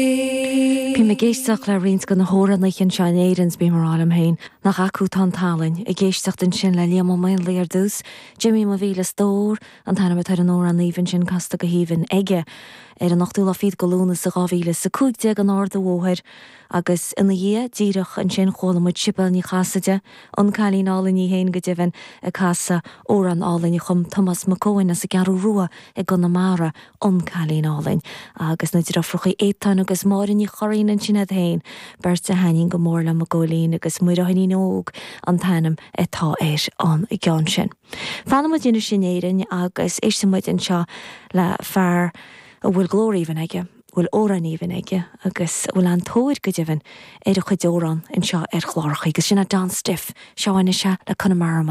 Bím ag éisteacht le roinnt de na hamhránaithe anseo in Éirinn 's bím ag rá liom féin, nach acu atá an tallann. Ag éisteacht ansin le Liam Ó Maonlaí ar dtús, Jimí mo mhíle stór, an t-ainm atá ar an amhrán aoibhinn sin casta go haoibhinn aige ar an ochtú lá fichead de Lúnasa 2015 in Ard an Bhóthair agus ina dhiaidh díreach ansin chuala muid Sibéal Ní Chasaide, an cailín álainn í féin go deimhin, ag casadh amhrán álainn a chum Tomás Mac Eoin as an gCeathrú Rua i gConamara. An Cailín Álainn, agus na deirfiúracha Étáin agus Máire Ní Churraoin ansin iad féin, beirt a thaitníonn go mór liom a Góilín agus Muire Thuinnín Óg an t-ainm atá ar an gceann sin. Fanfaidh muid anois in Éirinn agus éistfidh muid anseo le fear a bhfuil glór aoibhinn aige, a bhfuil amhráin aoibhinn aige agus a bhfuil an-tóir go deimhin ar a chuid amhrán anseo ar chláracha agus sin é Don Stiffe. Seo anois é le Conamara.